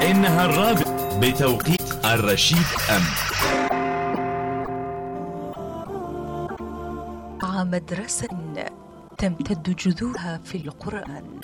إنها الرابعة بتوقيت الرشيد مدرسة تمتد جذورها في القرآن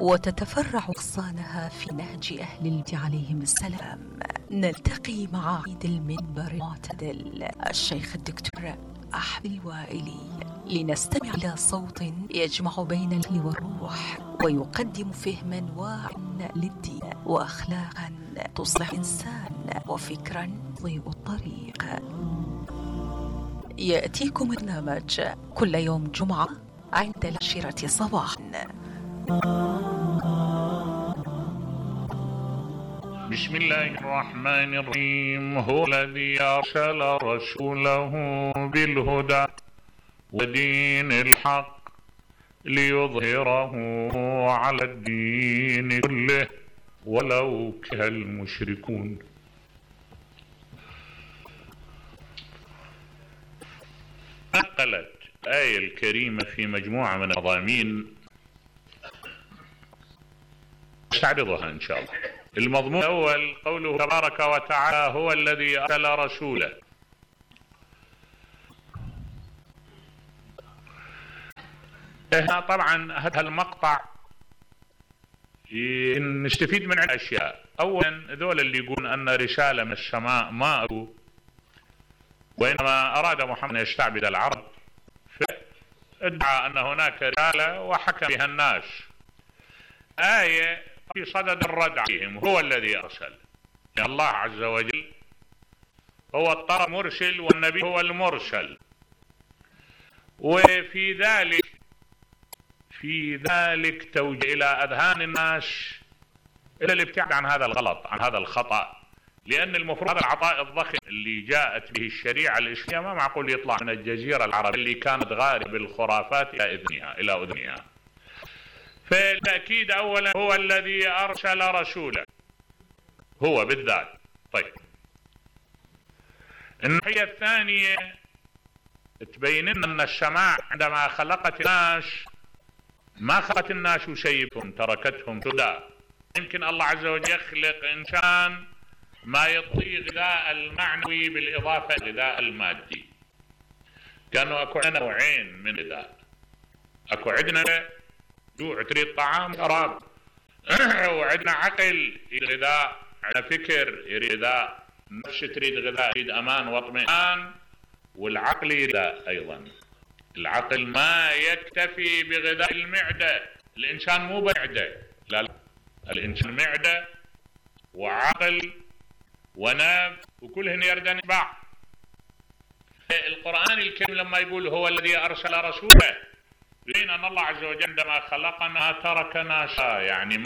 وتتفرع أغصانها في نهج أهل البيت عليهم السلام. نلتقي مع عيد المنبر المعتدل الشيخ الدكتور أحمد الوائلي لنستمع إلى صوت يجمع بين الأهل والروح ويقدم فهما واعيا للدين وأخلاقا تصلح الإنسان وفكرا يضيء الطريق. يأتيكم برنامج كل يوم جمعة عند 10 صباحا. بسم الله الرحمن الرحيم. هو الذي أرسل رسوله بالهدى ودين الحق ليظهره على الدين كله ولو كره المشركون. نقلت الآية الكريمة في مجموعة من المضامين نستعرضها إن شاء الله. المضمون الأول قوله تبارك وتعالى هو الذي أرسل رسوله. طبعا هذا المقطع نستفيد من أشياء. أولا ذول اللي يقولون أن رسالة من السماء ما أتوا وإنما أراد محمد أن يستعبد العرب فادعى أن هناك رسالة وحكم بها الناس. آية في صدد الرد عليهم هو الذي أرسل. يعني الله عز وجل هو الطرف مرسل والنبي هو المرسل. وفي ذلك توجيه إلى أذهان الناس إلى الابتعاد عن هذا الغلط عن هذا الخطأ، لأن المفروض هذا العطاء الضخم اللي جاءت به الشريعة الإسلامية ما معقول يطلع من الجزيرة العربية اللي كانت غاربة بالخرافات إلى أذنها. فالتأكيد أولا هو الذي أرسل رسوله هو بالذات. طيب الناحية الثانية تبين أن السماء عندما خلقت الناس ما خلقت الناس وسيبهم تركتهم سدى. يمكن الله عز وجل يخلق إنسان ما يعطيه غذاء المعنوي بالإضافة لغذاء المادي. كانوا أكو عندنا نوعين من غذاء. أكو عندنا جوع تريد طعام شراب وعندنا عقل يريد غذاء، عندنا فكر يريد غذاء، نفس تريد غذاء يريد أمان واطمئنان، والعقل يريد أيضا. العقل ما يكتفي بغذاء المعدة. الإنسان مو بمعدة، لا الإنسان معدة وعقل ونفس وكلهن يردن بعض. القرآن الكريم لما يقول هو الذي أرسل رسوله بين أن الله عز وجل عندما خلقنا تركنا يعني